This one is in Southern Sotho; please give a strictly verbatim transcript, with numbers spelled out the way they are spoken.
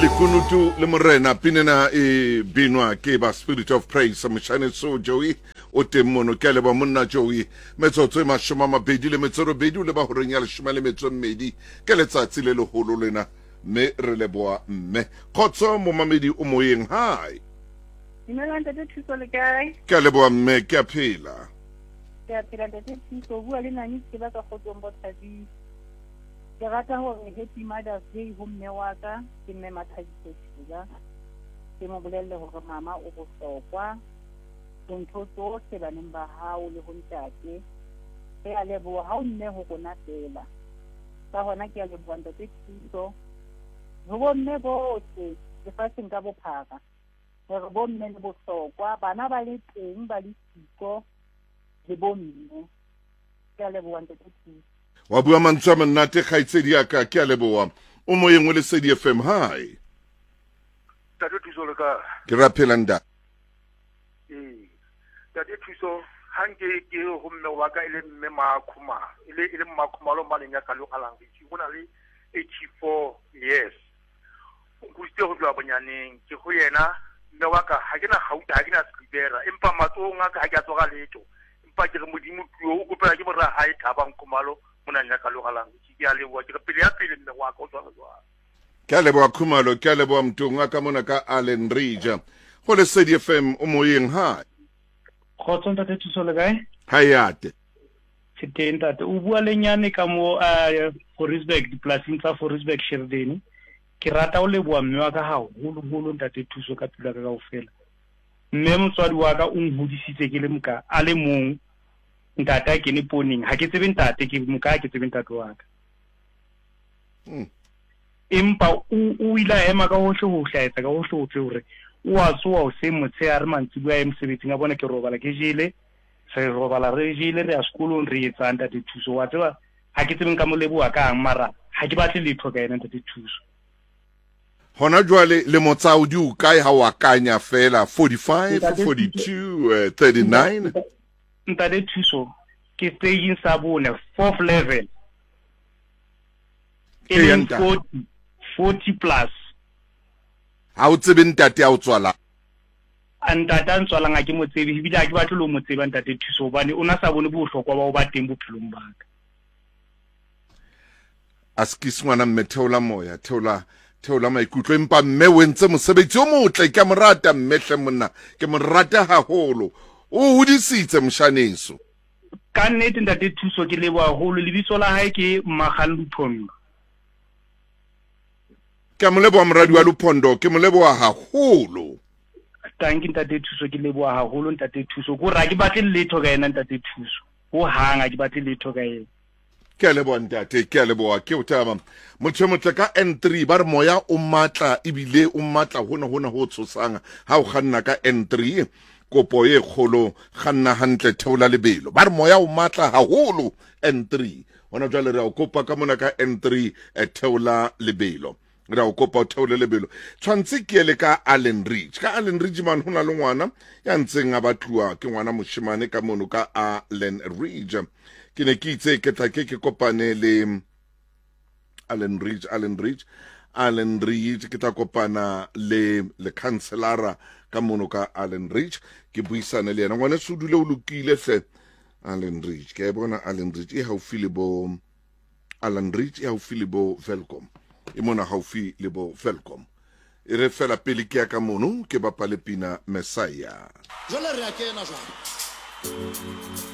Lekunutu le morena pinena e binwa ke ba Spirit of Praise moshane so Joey o teng mono ke a leboha monna Joey metsotso e mashome a mabedi le metso e robedi o leba horeng ya leshome le metso e mmedi ke letsatsi le leholo lena mme re leboha mme kgotso momamedi o moyeng hi. Dumela ntate Thuso le kae? Ke a leboha mme ke a phela. Ke a phela ntate Thuso o bua le Nani ke ba ka kgotsong bo Thabile. Ke rata hore Happy Mother's Day ho mme wa ka ke mme Mathabiso Thila. Ke mo bolelle hore mama o bohlokwa ho ntho tsohle baneng ba hao le ho ntate. Re a leboha ha o mme ho rona fela. Ka hona ke a leboha ntate Thuso ho bomme bohle lefatsheng ka bophara hore bomme le bohlokwa bana ba le teng ba le siko le bomme. Ke a leboha ntate Thuso. Wa bua mantswe a monate kgaitsedi ya ka ke a leboha o moyeng o Lesedi F M hi. Ntate Thuso le ka ke ra phela nda. Ee ntate Thuso ha nke ke ho mme wa ka e le mme Makhumalo e le e le Makhumalo maleng ya ka lo alang ke bona le eighty-four years o nkgusitse ho tloha bonyaneng ke ho yena mme wa ka ha ke na gauta ha ke na silivera empa matsohong a ka ha ke a tsoga letho empa ke re modimo tuo o kopela ke mora hae Thabang Khumalo mona nya ka lo galang ke a leboha ke re pele ya pele mme wa ka o tswa jwang. Ke a leboha Khumalo ke a leboha motong wa ka mona ka Allen Ridge go Lesedi F M o moyeng hi. Kgotso ntate Thuso le kae? Hi ate. Ke teng ntate o bua le nyane ka mo Forestburg dipolasing tsa Forestburg Sheridan. Ke rata o leboha mme wa ka haholoholo ntate Thuso ka pelo ya ka kaofela. Mme motswadi wa ka o nhodisitse ke le moka a le mong ntate a kene poning ha ke tsebe ntate ke moka ke tsebe ntate wa ka. Mm. Empa o o ile a ema ka hohle ho hlaetsa ka hohle hohle hore o a tsoha hoseng motshehare mantsiboya a ye mosebetsing a bona ke robala ke jele re robala re jele re ya sekolong re etsang ntate Thuso wa tseba ha ke tsebe nka mo leboha kang mara ha ke batle letho ka yena ntate Thuso. Hona jwale le motsao di o kae ha o akanya fela forty-five forty-two thirty-nine? Ntate Thuso ke staging sa bone fourth level e leng forty forty plus. Ha o tsebe ntate a o tswala? Ntate a ntswalang ha ke mo tsebe ebile ha ke batle le ho mo tseba ntate Thuso hobane o na sa bone bohlokwa ba ho ba teng bophelong ba ka. A skis ngwana mme theola moya theola theola maikutlo empa mme o entse mosebetsi o motle ke a mo rata mme hle monna ke mo rata haholo o hodisitse moshaneso. Ka nnete ntate Thuso ke leboha haholo lebitso la hae ke Mmagang Luphondo. Ke a mo leboha moradi wa Luphondo ke mo leboha haholo. Tanki ntate Thuso ke leboha haholo ntate Thuso ko ra ke batle letho ka yena ntate Thuso ho hang ha ke batle letho ka yena. Ke a leboha ntate ke a leboha ke o taba motho motle ka N three ba re moya o matla ebile o matla hona hona ho tshosang ha o kganna ka N three kopo e kgolo kganna hantle theola lebelo ba re moya o matla haholo N three hona jwale re a o kopa ka mona ka N three theola lebelo re a o kopa o theole lebelo tshwantse ke ele ka Allen Ridge ka Allen Ridge man hona le ngwana ya ntseng a batluwa ke ngwana moshemane ka mono ka Allen Ridge ke ne ke itse ke tla ke ke kopane le Allen Ridge Allen Ridge Allen Ridge ke tla kopana le le councilora ka mono ka Allen Ridge ke buisane le yena ngwana se dule o lokile hle Allen Ridge ke bona Allen Ridge e haufi le bo Allen Ridge e haufi le bo Welkom e mona haufi le bo Welkom e re fela pele ke ya ka mono ke bapale pina Messiah jwale re a kena jwale.